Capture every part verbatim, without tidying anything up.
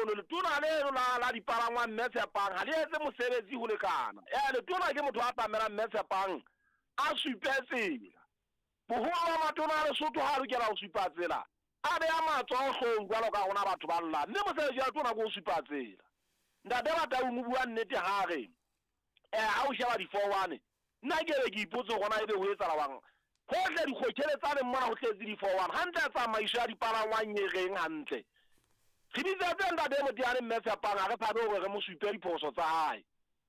mono letona leno la la dipalangwang Mme Tshepang ha le etse mosebetsi ho lekana. Eh letona ke motho a tlamelang Mme Tshepang a supe tsela. Boholo ba matona a Lesotho ha a lokela ho supa tsela, a beha matsoho hloohong jwalo ka rona batho ba llang. Mme mosebetsi wa letona ke ho supa tsela. Ntate Bataung o bua nnete ha re eh ha o sheba di-four one, nna ke be ke ipotse hore na ebe ho etsahala jwang. Hohle dikgotjheletsaneng mona ho tletse di-four one. Hantle tsamaiso ya dipalangwang e reng hantle. Re bitsetse ntate Moteane Mme Tshepang ha re tshabe hore re mo supe diphoso tsa hae.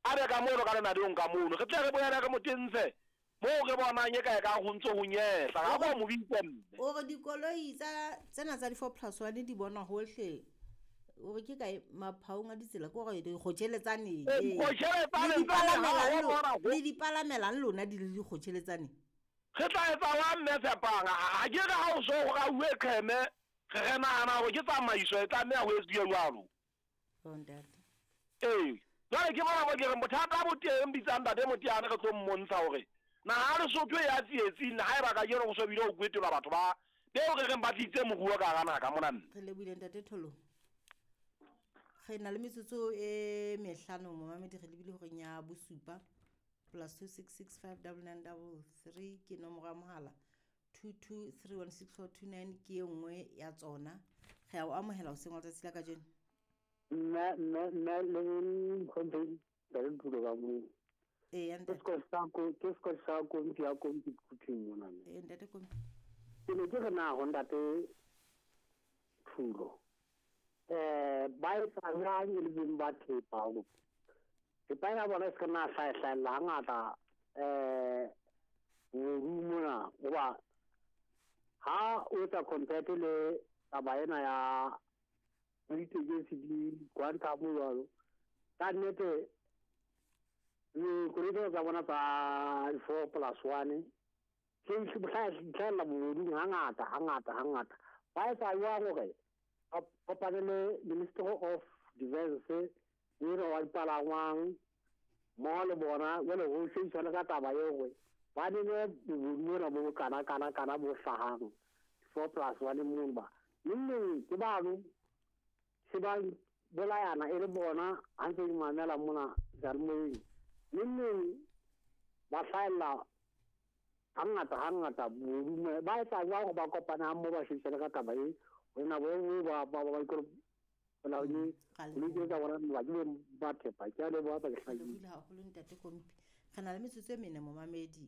A be ka mono ka lenaneong ka mono. Re tle re boele re mo tentshe moo re bonang e ka e kang ho ntso ho nyehla. Ha ba mo bitse mme. O re dikoloi tsa tsena tsa di-four plus one di bonwa hohle. O re ke kae maphaong a ditsela ke hore dikgotjheletsaneng. Eh, dikgotjheletsaneng tsane ha ho bona ho- Le di palamelang lona di le dikgotjheletsaneng. Re tla etsa wa Mme Tshepang. Ha ke re ha o so ho rauwe qheme, re re nahana hore ke tsamaiso e tlameha ho etsuwe jwalo. Oh, ntate. Ee, jwale ke mona mo ke reng bothata bo teng bitsang ntate Moteane re tlo mmontsha hore naha ya Lesotho e ya tsietsing haeba kajeno ho so bile ho kwetelwa batho ba beo re reng ba tlisitse moruo ka hara naha ka mona mme. Re lebohile ntate Tholo. Re na le metsotso e mehlano momamedi re lebile horeng ya bosupa plus two six six five double nine double three ke nomoro ya mohala two two three one six four two nine ke e nngwe ya tsona. Re a o amohela hoseng wa letsatsi la kajeno. Mme mme mme le ntlhomphehi ntate Nthulo ka moo. Ee, Ke ntate. Scott sa ko ke Scott sa kompi ya kompi Quthing mona mme. Ee, ntate Kompi. Ke ne ke re na ho ntate Thulo. Eh ba etsa jwang e le beng ba thepa hore thepa ya bona e se ka nna hlahe-hlahella hangata eh bobodu mona hoba ha o etsa compare le taba ena ya ditekesi di quantum jwalo ka nnete dikoloi tsena tsa bona tsa four plus one se hlahella bobodung hangata hangata hangata. Ba etsa jwang hore ba kopane le Ministry of Defence ena wa dipalangwang mmoho le bona jwale ho shebisana ka taba eo hore ba nene bobodu bona bo kana kana kana bo hlahang four plus one mono ba neng neng ke bano se ba bolayana e le bona ha ntse ke mamela mona seyalemoyeng neng neng ba hlahella hangata hangata bobodu ba etsa jwang hore ba kopane ha mmoho ba shebisane ka taba e ho na bo ba ba ba ba bolaodi Ra koloi tseo tsa bona ba ke ba thepa. Ke a leboha ba ke Re hlakile. lebohile haholo ntate Kompi. Re na le metsotso e mene momamedi.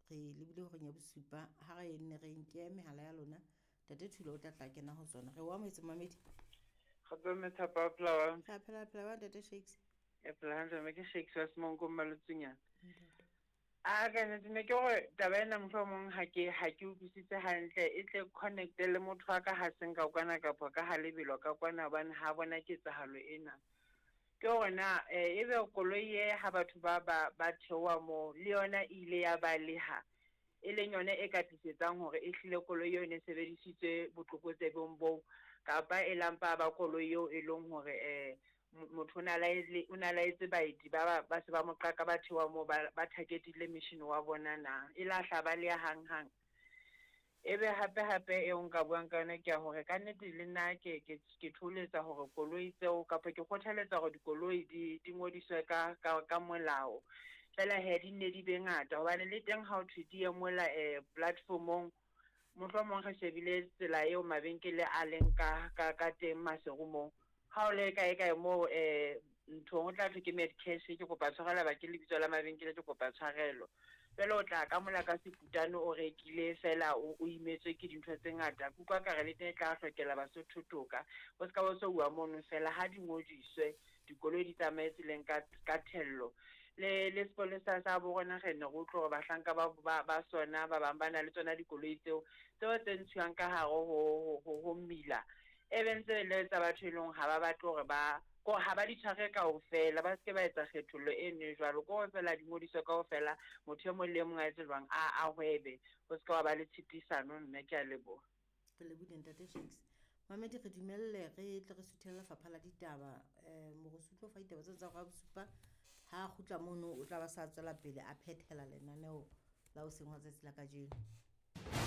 Re lebile horeng ya bosupa ha re nne re nke mehala ya lona. Ntate Thulo o tla tla kena ho tsona. Re o amohetse momamedi. Kgotso mme Thapa, o phela jwang? Re a phela phela jwang ntate Shakes? E phela hantle mme ke Shakes wa Semonko Mmalotsunyana. Ntate. A ka nnete ne ke hore taba ena mohlomong ha ke ha ke utlwisise hantle e tle connect-e le motho wa ka ha seng ka kwana kapa ka ha lebelo ka kwana hobane ha bona ketsahalo ena. Ke hore na eh, ebe koloi e ha batho ba ba ba theoha moo le yona e ile ya baleha e leng yona e ka tlisetsang hore e hlile koloi eo e ne sebedisitswe botlokotsebeng boo kapa e lampa ba koloi eo e leng hore eh motho o na laele o na laetse baeti ba ba ba se ba mo qaka ba theoha moo ba ba target-ile mission wa bona na e la hla ba leha hang-hang. Ebe hape hape eo nka buang ka yona ke ya hore kannete le nna ke ke ke thoholetsa hore koloi tseo kapa ke kgothaletsa hore dikoloi di di ngodiswe ka ka ka molao. Feela hee di nne di be ngata hobane le teng ha ho thwe di ye mola eh platform-ong mohlomong re shebile tsela eo mabenkele a leng ka ka ka teng Maseru moo. Ha o le kae kae moo eh nthong o tla thwe ke Medcash ke kopa tshwarelo ba ke lebitso la mabenkele ke kopa tshwarelo. Jwale o tla ka mola ka seputane o rekile feela o o imetswe ke dintho tse ngata. Ke utlwa ekare le teng e tla hlokela Basotho toka. Ho ska ba so uwa mono feela ha di ngodiswe dikoloi di tsamaye tseleng ka ka thello. Le le sepolesa sa bo rona re ne re utlwe hore bahlanka ba ba ba sona ba bang ba na le tsona dikoloi tseo tseo tse ntshuwang ka hare ho ho ho mmila. E be ntse le tsa batho e leng ha ba batle hore ba ko ha ba di tshware kaofela ba se ke ba etsa kgethollo e nwe jwalo ko feela di ngodiswe kaofela motho e mong le e mong a etse jwang a a hwebe ho se ka wa ba le tshitisano mme ke a leboha. Re lebohile ntate Shakes. Mamedi re dumelle re tle re suthele lefapha la ditaba eh Morusu o tlo fa ditaba tseo tsa hora ya bosupa ha a kgutla mono o tla ba sa tswela pele a phethela lenaneo la hoseng wa tsatsi la kajeno.